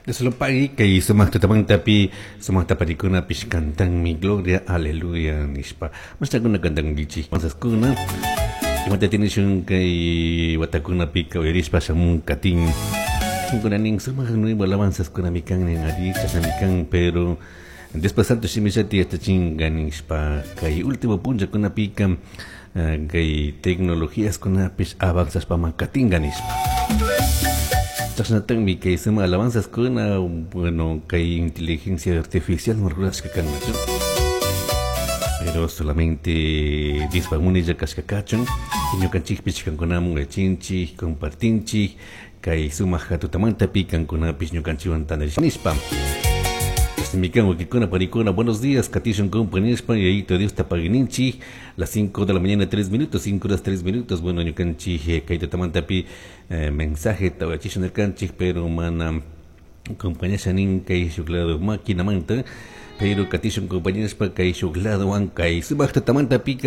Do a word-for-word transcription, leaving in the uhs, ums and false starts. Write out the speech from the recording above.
Dios lo pague kay sumaq tutamantapi sumaq taparikunapish cantanmi gloria aleluya nishpa mashtakuna cantankichik alabanzaskuna imata tinishun kay watakunapika uyarishpa shamun katin kuna nin sumaq nuevo alabanzaskunami kan nin ari chashnami kan pero Diospa santo shimillati yachachinka nishpa kay último punllakunapika kay tecnologíaskunapish avanzashpama katinka nishpa chashnatami kay sumaq alabanzaskuna bueno kay inteligencia artificial rurashka kan pero solamente Diospa munaylla kashka kachun ñukanchikpish kankunamun yachinchik compartinchik kay sumaq tutamantapi kankunapish ñukanchikwan tandarish nishpa Mikan wawkikuna panikuna, buenos días, katishun compañía y ahí Dios ta paguininchi, las cinco de la mañana tres minutos, cinco horas tres minutos, bueno, ñukanchik kay tutamantapi eh, mensaje tawachishun nirkanchik, pero mana compañía nin kay shuk lado máquina manta, pero katishun compañía kay shuk lado kay sumaq tutamantapi